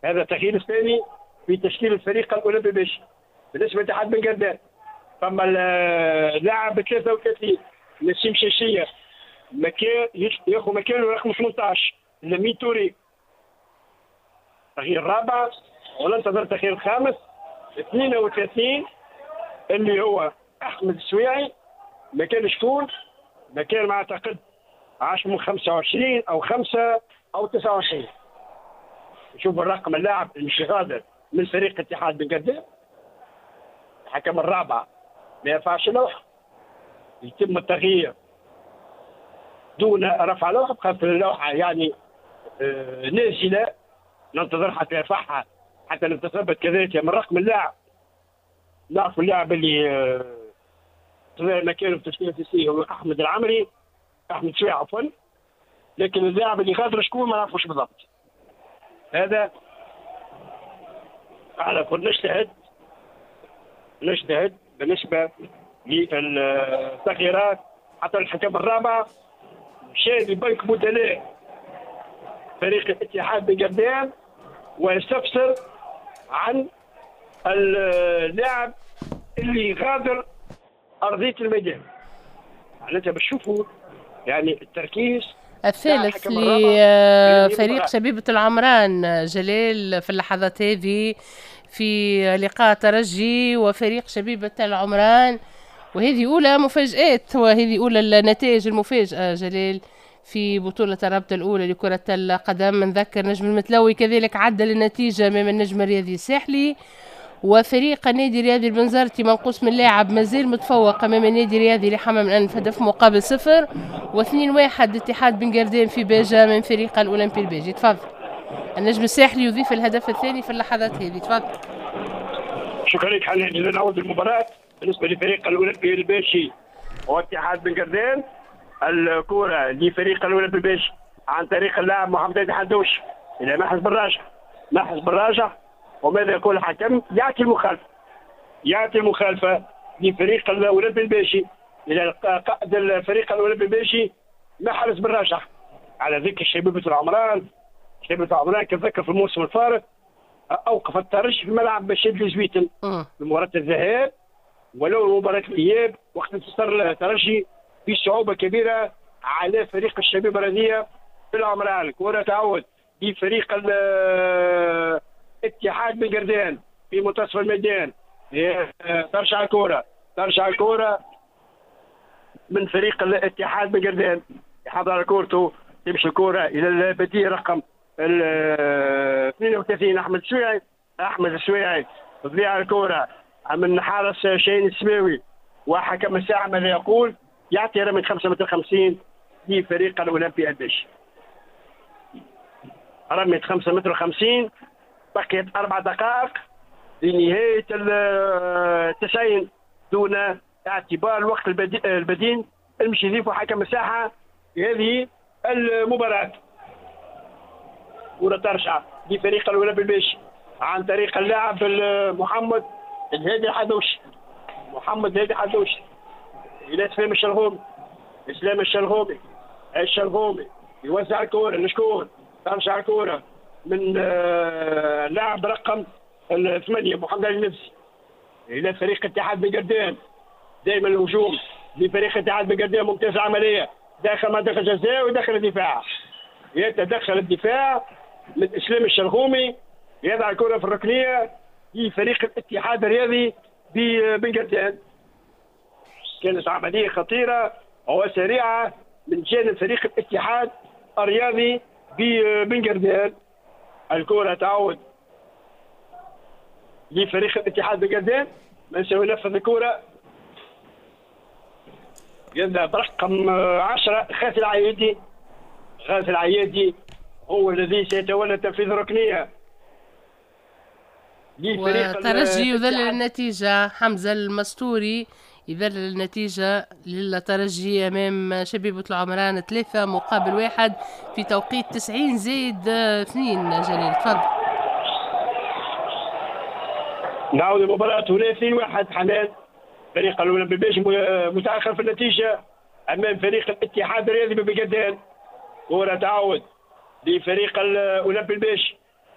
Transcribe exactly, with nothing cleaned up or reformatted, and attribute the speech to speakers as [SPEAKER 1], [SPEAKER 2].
[SPEAKER 1] هذا التغيير الثاني في تشكيل الفريق الاولمبي الباجي. بالنسبة لاتحاد بن قردان فما اللاعب ثلاثة وثلاثين نسيم شاشيه مكان ياخذ مكانه رقم ثمانية عشر لمين توري. التغيير الرابع وننتظر التغيير الخامس اثنين وثلاثين اللي هو احمد السويعي مكان شكون؟ مكان ما اعتقد عشرة خمسة وعشرين او خمسة او تسعة وعشرين. شوفوا الرقم اللاعب اللي مش غادر من فريق اتحاد بن قردان. الحكم الرابع ما يرفعش لوحة، يتم التغيير دون رفع لوحة، بخاطر اللوحة يعني آه نازله، ننتظر حتى يرفعها حتى نتثبت كذلك من رقم اللاعب. نعرف اللاعب اللي آه مكانه في التشكيلة الاساسية هو احمد العمري، احمد شوي عفوا، لكن اللاعب اللي غادر شكون ما نعرفوش بالضبط. هذا على كل نجتهد نجتهد بالنسبة للتغييرات. حتى الحكم الرابع مشى لبنك بدلاء فريق الاتحاد بن قردان ويستفسر عن اللاعب اللي غادر ارضية الميدان. معناتها باش تشوفوا يعني التركيز
[SPEAKER 2] الثالث لفريق شبيبة العمران جلال في اللحظات هذه في لقاء ترجي وفريق شبيبة العمران، وهذه أولى مفاجآت وهذه أولى النتائج المفاجئة جلال في بطولة الرابطة الأولى لكرة القدم. نذكر نجم المتلوي كذلك عدل النتيجة أمام النجم الرياضي الساحلي، وفريق النادي الرياضي البنزرتي منقوص من لاعب مازال متفوق امام النادي الرياضي لحمام الانف هدف مقابل صفر، واثنين واحد اتحاد بن قردان في باجة من فريق الاولمبي الباجي. تفضل النجم الساحلي يضيف الهدف الثاني في اللحظات هذه. تفضل.
[SPEAKER 1] شكرا لك حنان. نعود المباراة بالنسبة لفريق الاولمبي الباجي واتحاد بن قردان. الكرة لفريق الاولمبي الباجي عن طريق اللاعب محمد الحدوش الى محرز بالراجح، محرز بالراجح، وماذا يقول الحكم؟ يعطي المخالفة، يعطي المخالفة لفريق الاولمبي الباجي الى قائد الفريق الاولمبي الباجي محرز بالراجح. على ذكر شبيبة العمران، شبيبة العمران كنتذكر في الموسم الفارط اوقف الترجي في ملعب بشير زويتن في مباراة الذهاب ولو مباراة الاياب، وقت انتصر الترجي بصعوبة كبيرة على فريق الشبيبة الرياضية في العمران. الكره تعود لفريق اتحاد بن قردان في منتصف الميدان، ترجع الكرة، ترجع الكرة من فريق الاتحاد بن قردان، يحضر كورته، تمشي الكرة إلى البديل رقم اثنين وثلاثين أحمد السويعي، أحمد السويعي تضيع الكرة من حارس شاهين السماوي، وحكم الساعة ماذا يقول؟ يعطي رمية خمسة متر خمسين لفريق الأولمبي الباجي. رمية خمسة متر خمسين، بقيت أربع دقائق لنهاية التسعين دون اعتبار الوقت البديل المشي يضيفه حكم الساحة في هذه المباراة. كرة ترجع لفريق الأولمبي الباجي عن طريق اللاعب محمد الهادي الحدوشي، محمد الهادي الحدوشي إلى إسلام الشلغومي، إسلام الشلغومي، الشلغومي يوزع الكرة لشكون؟ ترجع الكرة من لاعب رقم الثمانية محمد علي النفسي إلى فريق اتحاد بن قردان. دائما الهجوم لفريق اتحاد بن قردان، ممتاز العملية داخل منطقة الجزاء وداخل الدفاع، يتدخل الدفاع من إسلام الشلغومي، يضع الكرة في الركنية لفريق الاتحاد الرياضي ببن قردان. كانت عملية خطيرة وسريعة من جانب فريق الاتحاد الرياضي ببن قردان. الكرة تعود لفريق الاتحاد بن قردان، من سينفذ الكرة؟ يذهب رقم عشرة غازي العيادي، غازي العيادي هو الذي سيتولى تنفيذ الركنية.
[SPEAKER 2] وترجي يذلل النتيجة، حمزة المستوري يذلل النتيجة للترجي أمام شبيبة العمران ثلاثة مقابل واحد في توقيت تسعين زائد اثنين. جلال تفضل.
[SPEAKER 1] نعود المباراة هنا اثنين واحد حنان، فريق الأولمبي الباجي متأخر في النتيجة أمام فريق الاتحاد الرياضي ببن قردان. كرة تعود لفريق الأولمبي الباجي